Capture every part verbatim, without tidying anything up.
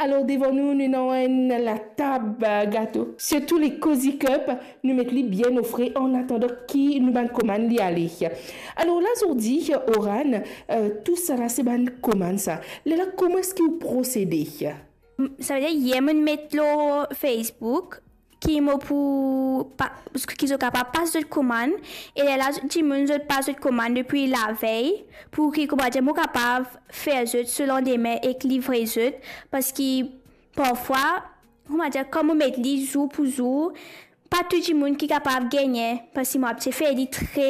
Alor, devan nou, nou ena enn latab, eh, gato. Sirtou le Cozy Cup, nou met li bien ofre an atandan ki nou bann komann li ale. Alor la, zordi, Oran, eh, tousala se bann komann sa. Lerla, kouma eski ou prosede? Savedir, yer mo met lor Facebook ki mo pou pa-, ki zot kapav pas zot komann, e lerla dimoun zot pas zot komann depi lavey, pou ki, koumadir, mo kapav fer zot so landime ek livre zot, parski parfwa, koumadir, kan mo met li zour pou zour, pa tou dimoun ki kapav gagne, parski mo abitie fer li tre,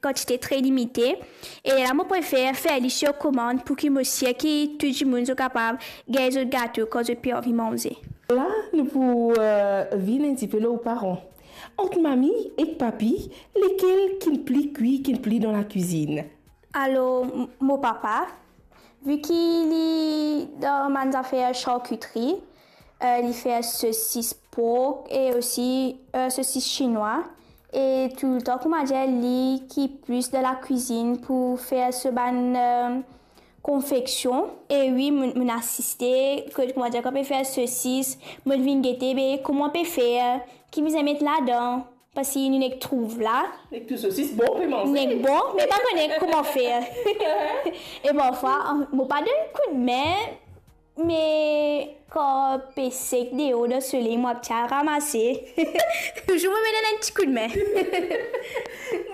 kantite tre limite, e lerla mo prefer fer li sir komann pou ki mo sir ki tou dimoun zot kapav gagn zot gato kan zot pe anvi manze. La, nou pou, eh, vinn enn tipe lor ou paran. Ant mami ek papi, lekel ki'nn pli kwi, ki'nn pli dan lakwizinn? Alor, m-, mo papa, vi ki li dan bann zafer charkitri, eh, li fer sosis pork e osi, eh, sosis sinwa. E toultan, koumadir, li ki plis dan lakwizinn pou fer so bann, eh, konfeksion. E wi, mo, mo asiste, kot, koumadir, kan pe fer sosis, mo vinn gete, be, kouma pe fer, ki bizin met ladan, parski nou nek trouv la. Nek tou sosis bon pou manze. Nek bon, me pa kone kouma fer. E parfwa, mo pa donn koudme, me kan pe sek deor dan soley, mo abitie al ramase. Touzour mo pe donn enn ti koudme.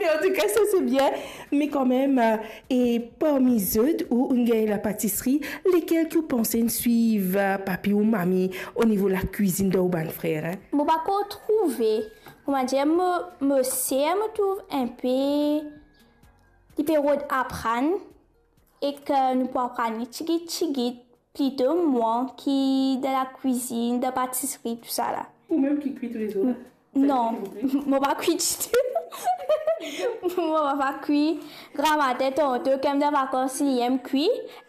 Me antouka, sa se bien. Me kanmem, eh, e parmi zot, ou'nn gagn lapatisri, lekel ki ou panse inn swiv, eh, papi ou mami o nivo lakwizinn dan ou bann frer, en? Mo pa ankor trouve, koumadir, mo, mo ser, mo trouv inpe, li pe rod aprann, ek nou pou aprann li tigit tigit, plito mwa ki dan lakwizinn, dan patisri, tousala. Ou mem ki kwi toulezour? Non, mo pa kwi ditou. Mo pa kwi. Gramatin, tonton, kan mo dan vakans, li enn kwi.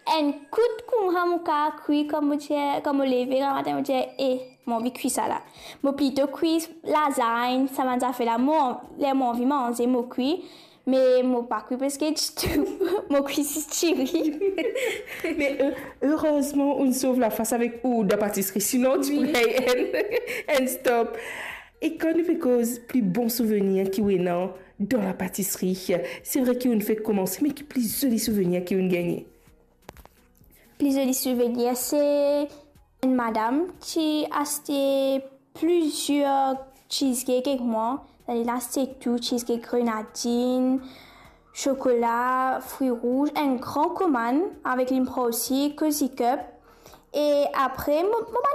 Enn kout koumsa mo kapav kwi, kan mo dir, kan mo leve gramatin, mo dir, "Eh, mo anvi kwi sala." Mo plito kwi lazagn, sa bann zafer la, mo, ler mo anvi manze, mo kwi. Me mo pa kwi preske ditou. Mo kwi zis tiri. Me, eh, erezman, ou'nn sov lafas avek ou dan patisri, sinon ti pou gagn enn, enn stop. E kan nou pe koz pli bon souvenir ki ou ena dan lapatisri, se vre ki ou'nn fek koumanse, me ki pli zoli souvenir ki ou'nn gagne? Pli zoli souvenir, se enn madam ki aste plizier cheesecake ek mwa. Li aste tou, cheesecake grenadinn, sokola, fri rouz, enn gran komann avek li, mo pran osi, Cozy Cup. E apre, mo, mo bann